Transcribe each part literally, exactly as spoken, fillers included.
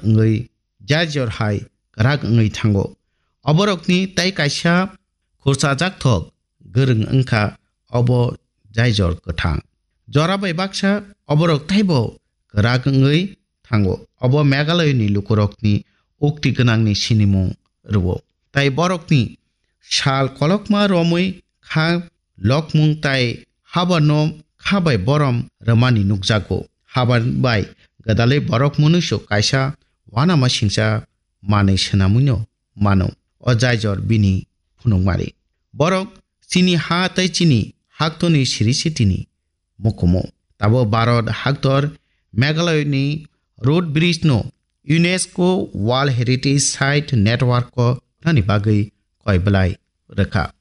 wngwi jaijor hai kwrak wngwi thango. Oborokni tai kaisa khurchajak thok gwrwng wngkha obo jaijor kwthang. Jora bai baksa oborok taibo kwrak wngwi thango. Obo Meghalaya ni lukurokni ukti gwnangni sinimung rwo. Tai borokni sal kolokma romwi kha lokmung tai habarno kha bai borom rwmani nukjago. Habar bai gwdalwi borok munuisu kaisa uanama singcha manwi swnamwino mano. O jaijor bini phunukmari. Borok chini ha tei chini haktoni siri sitini mukumu. Tabo Bharat haktor Meghalaya ni root bridge no UNESCO World Heritage Site Network o thani bagwi koi belai rwkha.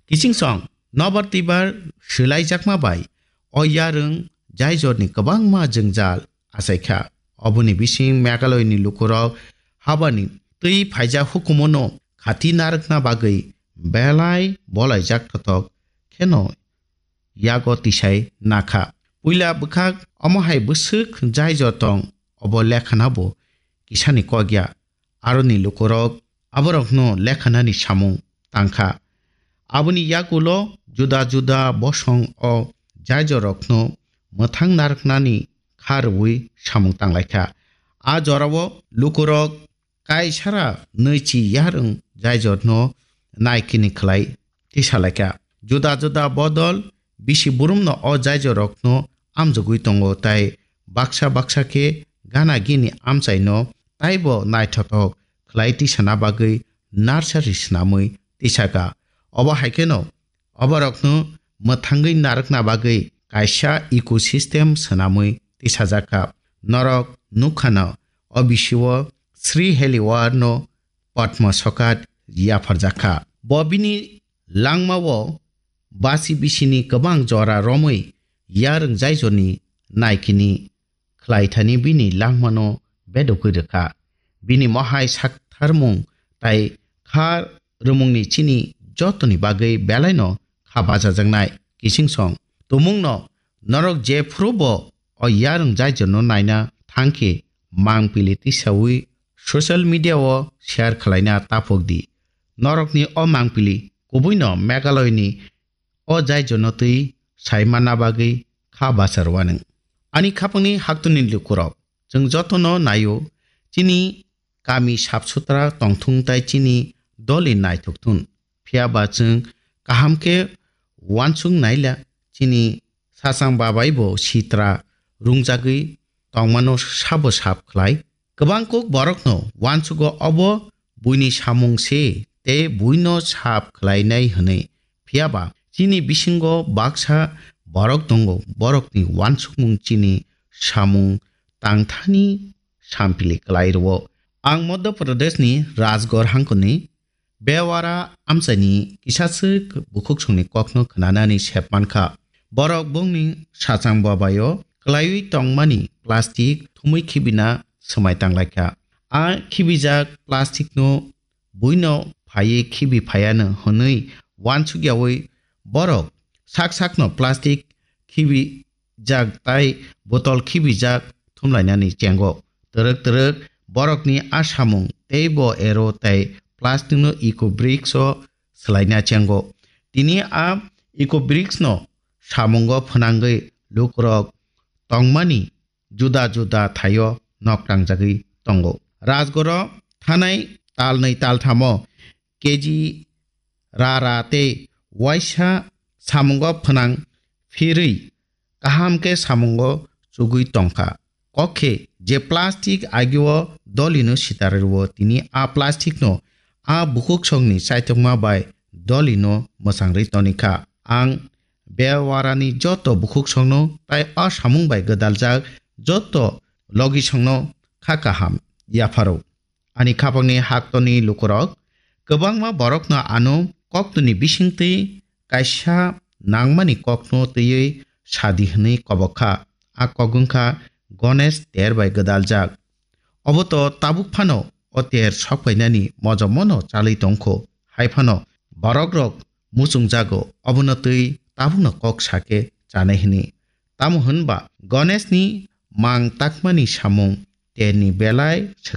Kiching song nobar tibar swlaijakma bai o yarwng jaijor ni kwbangma jwngjal achaikha. Oboni bising Meghalaya ni lukurok habani twi phaijak hukumu no khati narwkna bagwi belai bolaijak thothok kheno yago tisai nakha. Puila bwkhak omo hai bwswk jaijor tong, obo lekhana bo kisani kok ya. Aroni lukurok aborokno lekhanani samung tangkha. Aboni yagulo juda juda bosong o jaijorokno mwthang narwknani kha rwui samung tanglaikha. A jorao lukurok kaisara nwichi yarwng jaijorno naikini khlai tisalaikha. Juda juda bodol bisi burumno o jaijorokno amjogwi tongo, tai baksa baksa khe gana gini amchaino taibo naithothok khlai tisana bagwi nursery swnamwi tisakha. Obo hai kheno oborokno mwthangwi narwkna bagwi kaisa ecosystem swnamwi tisajakha. Norok nukkhano, o bisio Sri Heliwar no Padma Sokat yapharjakha. Bo bini langmao basi bisini kwbang jora romwi yarwng jaijorni naikini khlaithani bini langmano bedokwi rwkha. Bini mohai saktharmung tai kha rwmungni chini jotoni bagwi belaino kha bachajaknai. Kiching song tumungno norok jephuru bo o yarwng jaijorno naina thangkhe mangpili tisaui social media o share khlaina taphok di. Norokni o mangpili kubuino Meghalaya ni o jaijono twi sai manna bagwi kha bachar wanwng. Ani khapangni haktwni lukurok, chwng jotono naio, chini kami sap sutra tongthung tai chini doli naithok thun. Phiya ba chwng kaham khe uansuk naila, chini sachang babai bo sitra rungjagwi tongmano sabo sap khlai. Kwbang kuk borokno uansugo obo buini samung se tei buino sap khlainai hwnwi. Phiya ba chini bisingo baksa borok tongo, borokni uansukmung chini samung tangthani sampili klai rwo. Ang Madhya Pradeshni Rajgarh hangkoni Bewara amchaini kisaswk bukhuksongni kokno khnanani sep mankha. Borok bongni sachang babaio klaiwi tongmani plastic thumwi khibina swmai tanglaikha. A khibijak plasticno buino phaiwi khibi phaiano hwnwi uansukyaui borok sak sakno plastic khibi jak tai botol khibijak thumlainani chengo. Twrwk twrwk borokni a samung teibo ero tai plasticno eco bricks o swlaina chengo. Tini a eco bricks no samungo phwnangwi lukurok tongmani juda juda thaio nok tangjagwi tongo. Rajgoro thanai talnwi talthamo K G ra ra tei waisa samungo phwnang phirwi kaham khe samungo chugwi tongkha. Kok khe je plastic agio dolino sitar rwo, tini a plastic no a bukhuksongni chaitokma bai dolino mwchangri tonikha. Ang Bewarani joto bukhuksongno tai a samung bai gwdaljak joto logisongno kha kaham yapharo. Ani khapangni haktoni lukurok kwbangma borokno ano koktwni bisingtwi kaisa nangmani kokno twiwi sadi hwnwi kobok kha. A kok wngkha Ganesh ter bai gwdaljak. Obo to tabuk phano o ter sokphainani mojomono chalwi tongkho. Hai phano borokrok muchungjago, obono twi tabukno kok sake chanai hwnwi. Tamo hwnba Ganeshni mang takmani samung terni belai swkang.